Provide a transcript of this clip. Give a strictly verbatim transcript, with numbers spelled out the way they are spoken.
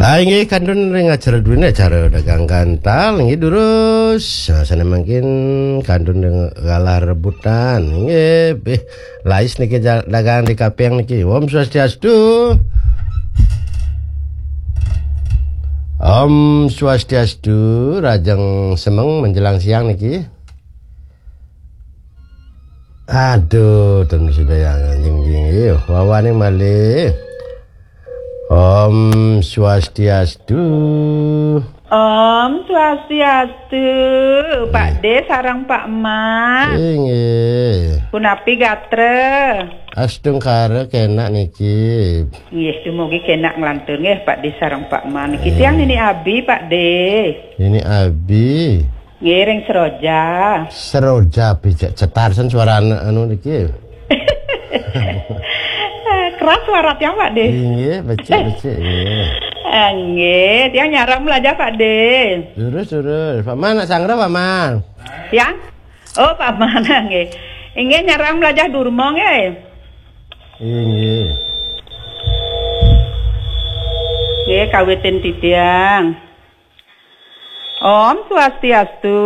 Ah, inggih kantun ring acara duene, acara dagang gantal, inggih durus. Nah, sane mangkin kantun ring galah rebutan, inggih. Bih, lais niki ja-, dagang di kaping niki. Om Swastiastu. Om Swastiastu, rajeng semeng menjelang siang niki. Aduh, ten sudah yang anjing jing, wawane malih. Om Swastiastu. Om Swastiastu, Pak De sareng Pak Eman. Inggih. Punapi gatra? Astungkara kenak niki. Nggih, dumugi kenak nglantur nggih Pak De sareng Pak Eman. Niki tiang Nini Abi, Pak De. Nini Abi. Nggih, ring Seroja. Seroja, bijak cetar sen suarane anu niki. Keras suara tiang, Pak De. Inggih, becik, becik, inggih. Ah, nggih, tiang nyarang melajah, Pak De. Lurus, lurus. Pak Man, nak sangra, Pak Man? Tiang? Oh, Pak Man, nggih. Inggih, nyarang melajah Durma, nggih. Inggih. Nggih, kawitin titiang. Om Swastiastu.